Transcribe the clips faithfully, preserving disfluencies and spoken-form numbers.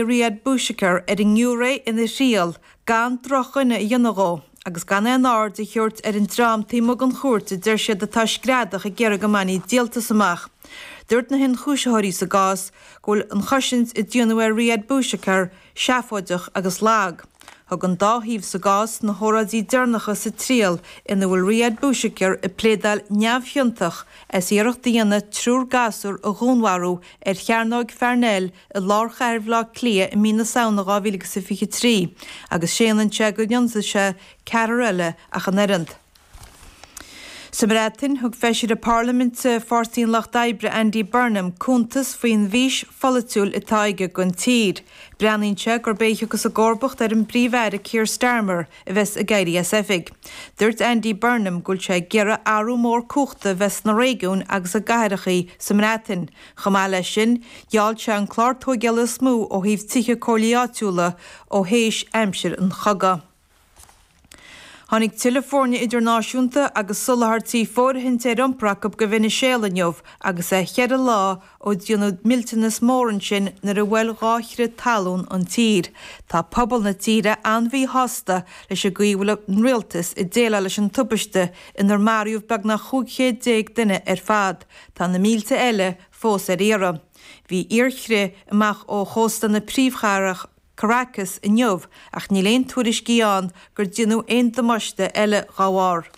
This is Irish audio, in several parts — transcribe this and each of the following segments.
Riyad Bouchaker ar an ngiúiré ina thriail gan drochdhuine a dhéanamh dhó, agus gan aon aird a thabhairt ar an dream taobh amuigh den chúirt a deir siad atá ag screadach ag iarraidh go mbainfí díoltas amach. Dúirt na hionchúisitheoirí sa gcás go bhfuil an chosaint a déanadh ar Riyad Bouchaker seafóideach agus lag. Thug an dá thaobh sa gcás na hóráidí deireanacha sa triail ina bhfuil Riyad Bouchaker ag pléadáil neamhchiontach as iarracht a dhéanamh triúr gasúr a dhúnmharú ar Chearnóg Pharnell i lár chathair Bhaile Átha Cliath i mí na Samhna dhá mhíle agus a fiche trí agus séanann sé gur ionsaigh sé ceathrar eile ach an oiread. Sa mBreatain, thug Feisire Parlaiminte Pháirtí an Lucht Oibre Andy Burnham cuntas faoin bhfís pholaitiúil atá aige don tír. Breathnaíonn sé gurb é a thiocfas i gcomharbacht ar an bPríomh-Aire Keir Starmer a bheas ag éirí as oifig. Dúirt Andy Burnham go bhfuil sé ag iarraidh athrú mór cumhachta a bheith sna réigiúin agus i gcathracha sa mBreatain. Chomh maith leis sin, gheall sé an clár tóigeála is mó ó thaobh tithe comhairlí áitiúla ó théis aimsir an chogaidh. Tháinig tuilleadh foirne idirnáisiúnta agus soláthairtí fóirithinte ar iompar acu go Veiniséala inniu agus é ceithre lá ó déanadh millteanas mór ansin nuair a bhuail dhá chrith talún an tír. Tá pobal na tíre an-mhíshásta leis an gcaoi a bhfuil an rialtas ag déileáil leis an tubaiste inar maraíodh beagnach chúig chéad déag duine ar fad. Tá na mílte eile fós ar iarraidh. Bhí oighearchrith amach ó chósta na príomhchathrach Caracas inniu ach níl aon tuairiscí ann gur déanadh aon damáiste eile dá bharr.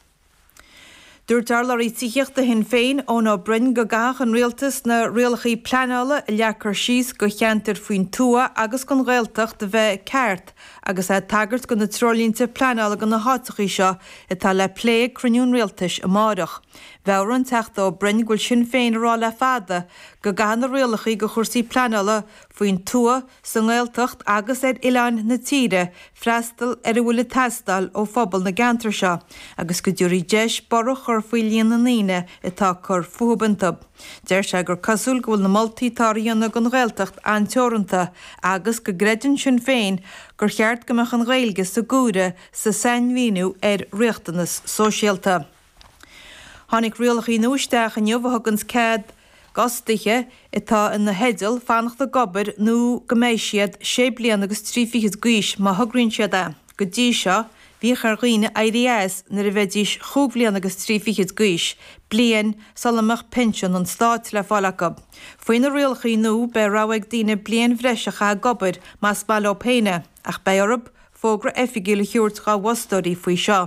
Dúirt urlabhraí tithíochta Shinn Féin, Eoin Ó Broin, go gcaithfeadh an rialtas na rialacha pleanála a leagtar síos do cheantair faoin tuath agus don Ghaeltacht a bheith ceart agus é ag tagairt do na treoirlínte pleanála do na háiteacha seo atá le plé ag cruinniú an rialtais amárach. Mheabhraigh an Teachta Ó Broin go bhfuil Sinn Féin ag rá le fada go gcaithfidh na rialacha do chúrsaí pleanála faoin tuath, sa nGaeltacht agus ar oileáin na tíre freastal ar a bhfuil ag teastáil ó phobal na gceantar seo agus go dtabharfaí deis borradh a chur faoi líon na ndaoine atá ag cur fúthu iontu. Deir sé gur cosúil go bhfuil na moltaí atá á dhéanamh don Ghaeltacht an-teoranta agus go gcreideann Sinn Féin gur cheart go mbeadh an Ghaeilge sa gcomhaireamh sa sainmhíniú ar riachtanas sóisialta. Tháinig rialacha nua isteach inniu a thuganns cead d'fhostaithe atá ina theideal fanacht ag obair nó go mbeidh siad sé bliana agus trí fichid d'aois má thograíonn siad é. Go dtí seo, bhíodh ar dhaoine éirí as nuair a bheidís chúig bhliana agus trí fichid d'aois, bliain sula mbeadh pinsean an stáit le fáil acu. Faoi na rialacha nua, beidh rogha ag daoine bliain bhreise a chaitheamh ag obair más maith leo féin é, ach beidh orthu fógra oifigiúil a thabhairt dhá bhfostóirí faoi seo.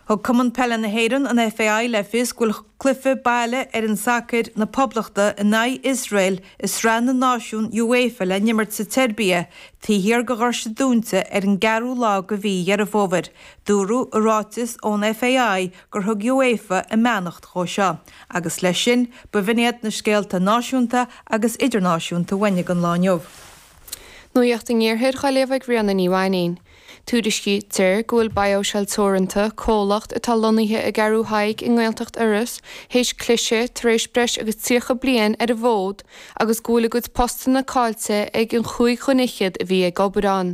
Thug Cumann Peile na hÉireann, an FAI, le fios go bhfuil cluiche baile fhoireann sacair na Poblachta in aghaidh Iosrael i Sraith na Náisiún UEFA le n-imirt sa tSeirbia taobh thiar de dhoirse dúnta ar an gceathrú lá de mhí Dheireadh Fómhair. Dúradh i ráiteas ón FAI gur thug UEFA a mbeannacht dhó seo. Agus leis sin, b'in iad na scéalta náisiúnta agus idirnáisiúnta uainne don lá inniu. Nuacht an Iarthair á léamh ag Ríona Ní Mhainín. Tuairiscítear go bhfuil BioShell Teoranta, comhlacht atá lonnaithe i gCeathrú Thaidhg i nGaeltacht Iorrais, théis cliseadh tar éis breis agus tríocha bliain ar an bhfód agus go bhfuil a gcuid postanna caillte ag an chúig dhuine fhichead a bhí ag obair ann.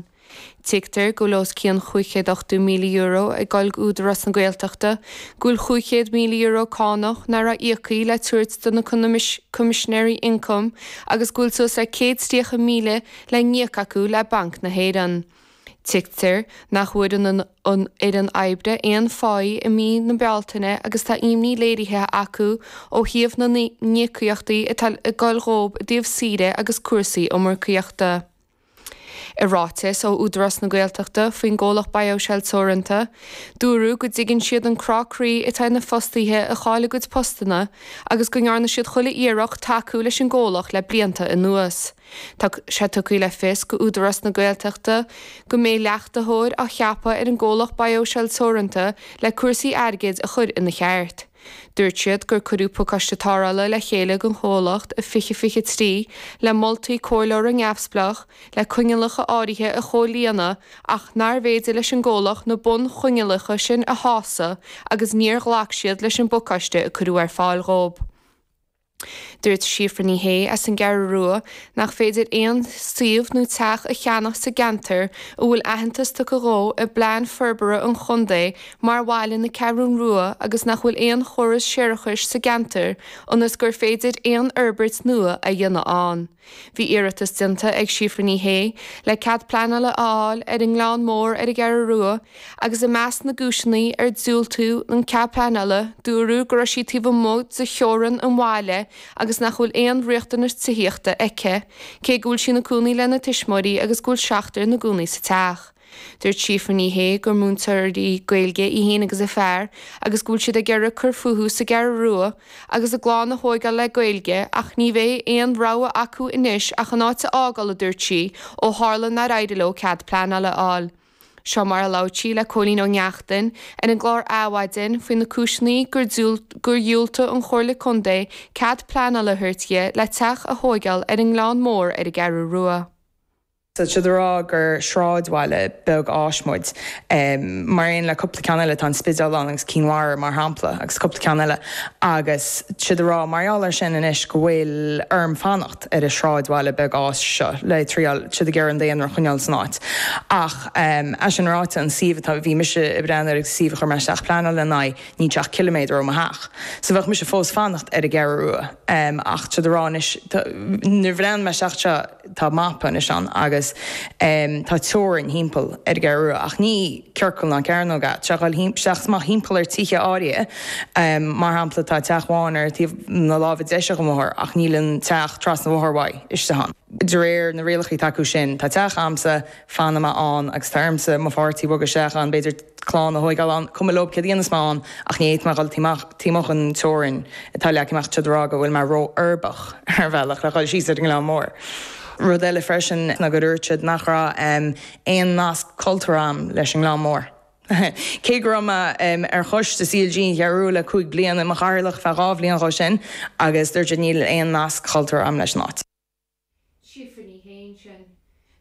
Tuigtear go bhfuil os cionn chúig chéad ochtó míle euro ag dul go Údarás na Gaeltachta, go bhfuil chúig chéad míle euro cánach nach raibh íoctha le tabhairt do na Coimisinéirí Ioncaim agus go bhfuil suas le céad tríocha míle le n-íoc acu le Banc na hÉireann. Tuigtear nach bhfuair an fhoireann oibre aon pháí i mí na Bealtaine agus tá imní léirithe acu ó thaobh na n-íocaíochtaí atá ag dul dhóibh i dtaobh saoire agus cúrsaí iomarcaíochta. I ráiteas ó Údarás na Gaeltachta faoin gcomhlacht BioShell Teoranta, dúradh go dtuigeann siad an crá croí atá ar na fostaithe a chaill a gcuid postanna agus go ndearna siad chuile iarracht tacú leis an gcomhlacht le blianta anuas. Tá sé tugtha le fios go Údarás na Gaeltachta go mbeidh leachtaitheoir á cheapadh ar an gcomhlacht BioShell Teoranta le cúrsaí airgid a chur ina cheart. Dúirt siad gur cuireadh pacáiste tarrthála le chéile don chomhlacht i fiche fiche trí le moltaí comhairleora neamhspleách le coinníollacha áirithe a chomhlíonadh ach nárbh fhéidir leis an gcomhlacht na bunchoinníollacha sin a shásamh agus níor ghlac siad leis an bpacáiste a cuireadh ar fáil dhóibh. Dúirt Síofra Ní Shé as an gCeathrú Rua nach féidir aon suíomh nó teach a cheannach sa gceantar a bhfuil aitheantas tugtha dhó i bplean forbartha an chontae mar bhaile na Ceathrún Rua agus nach bhfuil aon chóras séarachais sa gceantar ionas gur féidir aon fhorbairt nua a dhéanamh ann. Bhí iarratas déanta ag Síofra Ní Shé le cead pleanála a fháil ar an nGleann Mór ar an gCeathrú Rua agus i measc na gcúiseanna ar diúltaíodh an cead pleanála dúradh go raibh sí taobh amuigh de theorainn an bhaile agus nach bhfuil aon riachtanas tithíochta aici, cé go bhfuil sí ina cónaí lena tuismitheoirí agus go bhfuil seachtar ina gcónaí sa teach. Dúirt Síofra Ní Shé gur múinteoirí Gaeilge í féin agus a fear agus go bhfuil siad ag iarraidh cur fúthu sa gCeathrú Rua agus a gclann a thógáil le Gaeilge ach ní bheidh aon rogha acu anois ach an áit a fhágáil, a dúirt sí, ó tharla nár éirigh leo cead pleanála a fháil. Seo mar a labhair sí le Cóilín Ó Neachtain ar an gclár Adhmhaidin faoi na cúiseanna gur gur dhiúltaigh an Chomhairle Contae cead pleanála a thabhairt di le teach a thógáil ar an nGleann Mór ar an gCeathrú Rua. Tá siad ag rá gur sráidbhaile beag áis muid, mar aon le cúpla ceann eile, tá an Spidéal ann agus Cinn Mhara mar shampla agus cúpla ceann eile agus tá siad ag rá mar gheall air sin anois go bhfuil orm fanacht ar an sráidbhaile beag áis seo le triail, tá siad ag iarraidh an daonra a choinneáil san áit. Ach é sin ráite, an suíomh atá, bhí mise ag breathnú air agus suíomh a chuir mé isteach pleanáil lena aghaidh, níl sé ach ciliméadar ó mo theach. So bheadh mise fós fanacht ar an gCeathrú Rua. Ach tá siad ag rá anois, nuair a bhreathnaigh mé isteach seo, tá mapa anois ann agus tá teorainn thimpeall ar an gCeathrú Rua ach ní ciorcal ná cearnóg é, tá sé ag dul isteach is amach thimpeall ar tithe áirithe. Mar shampla tá teach amháin ar taobh na láimhe deise den bhóthar ach níl an teach trasna an bhóthair uaidh istigh ann. De réir na rialacha atá acu sin, tá teach a'msa, fanfaidh mé ann agus tá ormsa mo pháirtí a bhogadh isteach ann, b'fhéidir clann a thóigeáil ann, cuma leob céard a dhéanfas mé ann ach ní fhéadfaidh mé dhul taobh amuigh den teorainn atá leagtha amach, tá siad ag rá go bhfuil mé ró-uirbeach ar bhealach le dhul síos ar an nGleann Mór. Rud eile freisin ná gur dúirt siad nach raibh aon nasc cultúrtha a'm leis an nGleann Mór. Cé go raibh mé ar choiste C L G an Cheathrú Rua le cúig bliana, i mo chathaoirleach feadh dhá bhliain dhó sin agus dúirt siad níl aon nasc cultúrtha a'm leis an áit. Síofra Ní Shé ansin.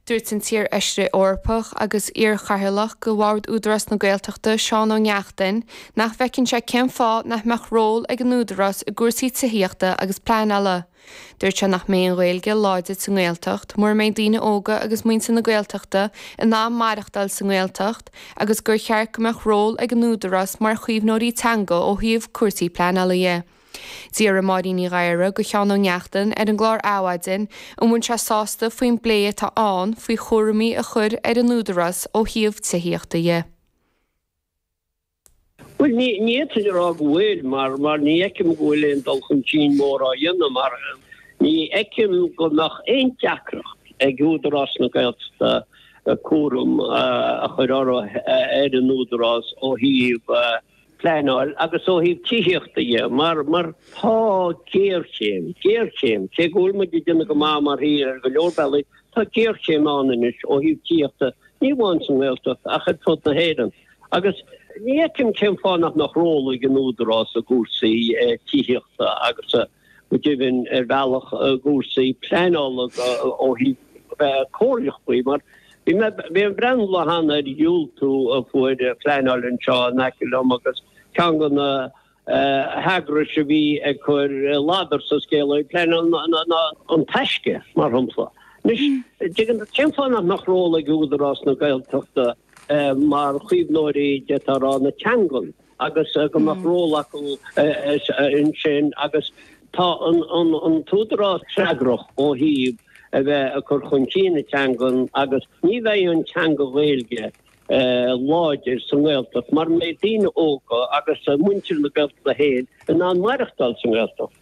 Dúirt an t-iar-fheisire Eorpach agus iar-chathaoirleach de Bhord Údarás na Gaeltachta, Seán Ó Neachtain, nach bhfeiceann sé cén fáth nach mbeadh ról ag an Údarás i gcúrsaí tithíochta agus pleanála. Dúirt sé nach mbeidh an Ghaeilge láidir sa nGaeltacht mura mbeidh daoine óga agus muintir na Gaeltachta in ann maireachtáil sa nGaeltacht agus gur cheart go mbeadh ról ag an Údarás mar chaomhnóirí teanga ó thaobh cúrsaí pleanála dhe. D'iarr Máirín Ní Ghadhra de Sheán Ó Neachtain ar an gclár Adhmhaidin an bhfuil sé sásta faoin bplé atá ann faoi chúraimí a chur ar an Údarás ó thaobh tithíochta dhe. Bhuel, ní fhéadfainn a rá go bhfuil, mar mar ní fheicim go bhfuil aon dul chun cinn mór á dhéanamh, mar ní fheicim go mbeadh aon deacracht ag Údarás na Gaeltachta cúram a chur orthu ar an Údarás ó thaobh pleanáil agus ó thaobh tithíochta dhe, mar mar tá géarchéim, géarchéim, cé go bhfuil muid ag déanamh go maith mar thír ar go leor bealaí, tá géarchéim ann anois ó thaobh tithíochta, ní amháin sa nGaeltacht ach ar fud na hÉireann. Agus ní fheicim cén fáth nach mbeadh ról ag an Údarás i gcúrsaí tithíochta agus go deimhin ar bhealach i gcúrsaí pleanála ó thaobh bheith comhairleach faoi, mar bhí mé bhí ag breathnú lá cheana ar dhiúltú a fuair pleanáil anseo in aice liom agus ceann de na heagrais a bhí ag cur ladar sa scéal ó thaobh pleanáil ná An Taisce, mar shampla. Anois, tuigeann tú, cén fáth nach mbeadh ról ag Údarás na Gaeltachta mar chaomhnóirí, d'fhéadfá a rá, na teangan agus go mbeadh ról acu ansin agus tá an t-údarás freagrach ó thaobh a bheith ag cur chun cinn na teangan agus ní bheidh an teanga Ghaeilge láidir sa nGaeltacht mura mbeidh daoine óga agus muintir na Gaeltachta féin in ann maireachtáil sa nGaeltacht.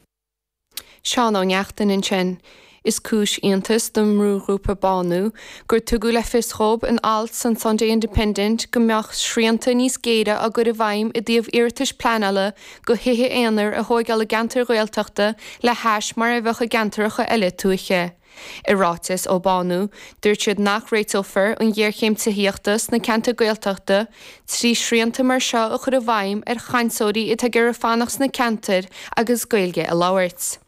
Seán Ó Neachtain ansin. Is cúis iontais don mbrúghrúpa Bánú gur tugadh le fios dhóibh in alt san Sunday Independent go mbeadh srianta níos géire á gcur i bhfeidhm i dtaobh iarratais pleanála do thithe aonair a thóigeáil i gceantair Ghaeltachta le hais mar a bheadh i gceantracha eile tuaithe. I ráiteas ó Bánú, dúirt siad nach réiteofar an ghéarchéim tithíochta sna ceantair Gaeltachta trí shrianta mar seo a chur i bhfeidhm ar chainteoirí atá ag iarraidh fanacht sna ceantair agus Gaeilge a labhairt.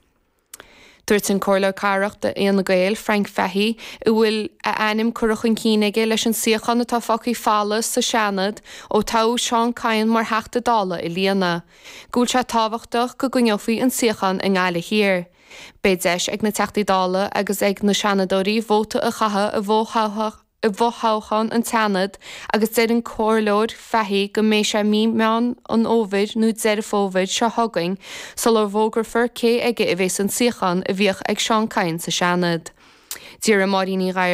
Dúirt an Comhairleoir Cathrach d'Fhine Gael, Frank Fahey, a bhfuil a ainm curtha chun cinn aige leis an suíochán atá fágtha folamh sa Seanad ó toghadh Seán Kyne mar Theachta Dála a líonadh, go bhfuil sé tábhachtach go gcoinneofaí an suíochán i nGaillimh Thiar. Beidh deis ag na Teachtaí Dála agus ag na Seanadóirí vóta a chaitheamh i i bhfothoghchán an tSeanaid agus deir an Comhairleoir Fahey go mbeidh sé mí Meán an Fhómhair nó Deireadh Fómhair seo chugainn sular bhfógrafar cé aige a bheas an suíochán a bhíodh ag Seán Kyne sa Seanad. D'iarr Máirín Ní Ghair